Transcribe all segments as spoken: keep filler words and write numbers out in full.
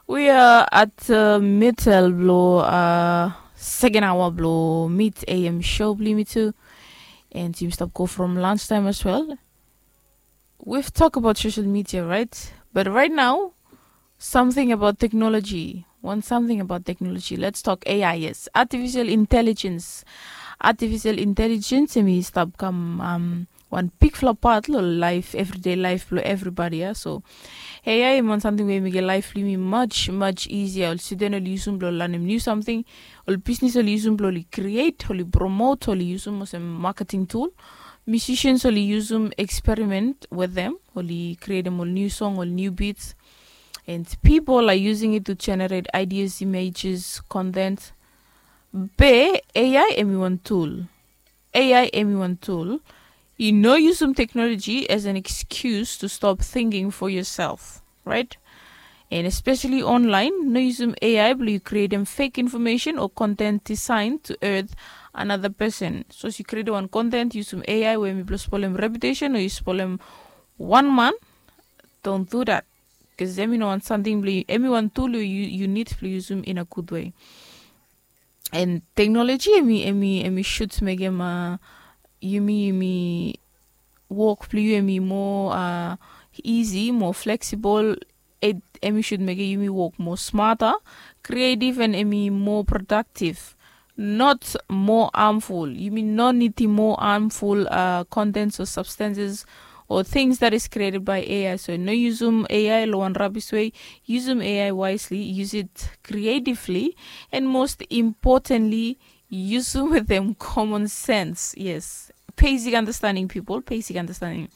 We are at uh, middle blo uh, second hour blo mid A M show blo me too. And you stop go from lunch time as well. We've talked about social media, right? But right now, something about technology. One something about technology. Let's talk A I, yes. Artificial intelligence. Artificial intelligence, and we stop come um, one big flop part lo life, everyday life blo everybody, yeah? So A I em wan samting we em i get laif blo yumi much much easier. Ol student oli yusum blo lanem niu samting, ol bisnis oli yusum blo oli create, oli promote, oli yusum olsem marketing tool. Musicians oli yusum experiment with them, oli createm ol niu song, ol niu beats. And people are using it to generate ideas, images, content. Be A I em i wan tool. A I em i wan tool. I no yusum technology as an excuse to stop thinking for yourself, right? And especially online, no yusum A I blo yu createm fake information o content designed to hurt another person. So as yu createm wan content yusum A I we em i blo spolem reputation o yu spolem wan man, don't do that. Bikos em i no wan samting blo yu, em i wan tool we yu, yu nid blo yusum in a good way. And technology em i, em i, em i should mekem uh, yumi, yumi wok blo yu em i more uh, easy, more flexible. Em i should mekem yumi wok more smarter, creative, and em i more productive. Not more harmful. Yumi no nidim more harmful uh, contents or substances or things that is created by A I. So no yusum A I lo wan rabis way. Yusum A I wisely, use it creatively, and most importantly, yusum wetem common sense. Yes, basic understanding, people, basic understanding.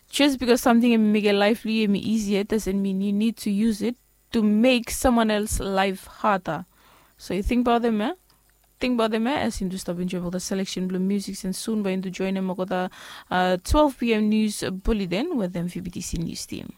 Just bikos samting em i mekem laif blo yu em i easier doesn't mean you need to use it to make someone else life harder. So you think about them, eh? Think about them, eh? As yumi stop enjoy olgeta selection blo music, and soon bae yumi joinem olgeta uh, twelve p.m. news bulletin wetem V B T C news team.